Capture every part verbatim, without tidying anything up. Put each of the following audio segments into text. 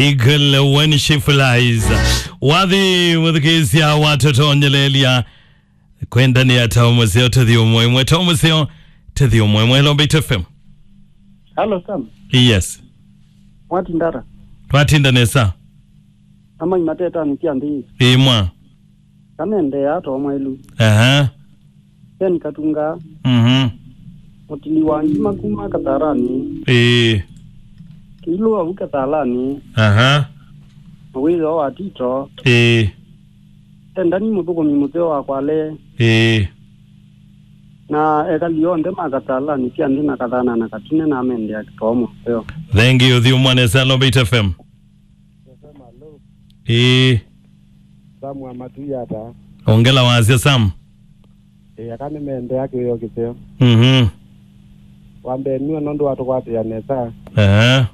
Eagle when she flies. Wathi mũthukĩĩsya watũtonyeleelya kwendania ta mũseo tũthi ũmwe ĩmwe ta mũseo tũthi ũmwe ĩmwe Lombeit F M. Hello, Sam. Yes. Mwati ndara. Twatinda nesa. Amai mateta nĩ kya nthĩ. Ĩmwa. Kamendeea to mwelu. Aha. Ken Katunga. Mhm. Mũtili wa ngima kuma Kathalani. Ĩĩ. Kĩilũ au Kathalani. Aha. Mũwĩthĩwa wa Tito. Ĩĩ. Endani mũthũkũmi mũseo wa Kwale. Ĩĩ. Na ekali onthe ma Kathalani sya nthĩ na Kathana na Katine na mendea kĩtoo mũseo. Thank you, thiu mwanesa Lombeit F M. Ĩĩ. Sam wa Matui ata? Ongela wasya Sam. Ĩĩ, aka nĩmeendeea kĩwĩo kĩseo. Mhm. Wa mbee nue nũndũ wa tũkwatĩĩa nesa. Ehe.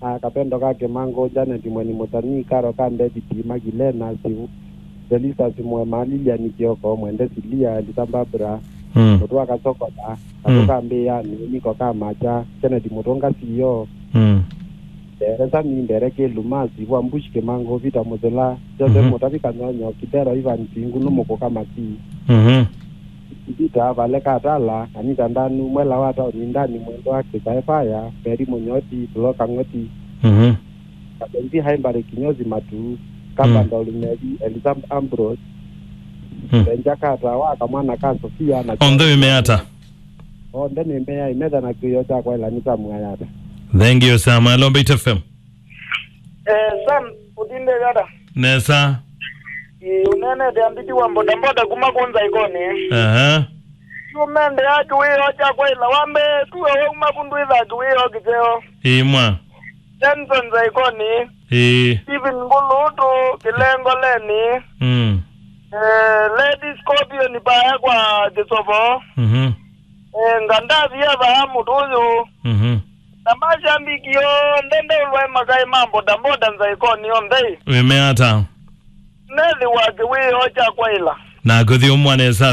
Na kapendo ka Kĩmangũ, Janet Mweni Mũtani, Karo ka David, Magilena, Sivu, Felista Simwema, Lilian Kioko, Mwende Silia, Elisa Barbara, Mm. Mũtwa Kasokola, Katũ Mm. ka Mbĩanĩ, Niko ka Macha, Kennedy Mũtũnga C E O, Mm. Ndere Sami, Ndere Kĩluma, Sivwa Mbush Kĩmangũ, Vita Mũthũla, Joseph Mhm. Mũtavi Kanyonyo, Kithero Ivan Singu, Nũmũkũ Kamati, Mhm. Vita Vale Katala, Anita Ndanu, Mwela wa Taoni Ndani, Mwendo wa Kĩsae Faya, Meri Mũnyoti, Tulo Kang'oti, Mhm. Kabenzi Haimbare Kinyozi Matu, Kamba Mm. Ndoli Meri, Elisa Ambrose, Mm. Benja Kata wa Kamwana ka Sofia na Onthe wĩmeata? Onthe nĩmeai metha na kĩwĩo kya kwaĩla nĩ Sam Ayata. Thank you, Sam. Hello, Mbaitu F M. Eh, Sam, ũtindĩte ata? Nesa. Ĩĩ, ũneenete ambiti wa bodaboda kuma kũnza ikoni. Aha. Yu mendea kĩwĩo kya kwaĩla wa mbee, tuwe wauma vu ndwĩthaa kĩwĩo kĩseo. Ĩĩ mwa. Johnson Zaikoni. Ĩĩ. Stephen Ngulutu, Kĩlengoleni. Mm. Eh, Lady Scorpion paya kwa Kĩsovo. Mhm. Eh, Ngandathi ya vaa mũtũyũ. Mhm. Na mashabiki onthe ndeũlwae makaĩ ma bodaboda Nzaikoni onthe. Wĩmeata? Nethi wa kĩwĩo kya kwaĩla. Na kũthi ũmwanesa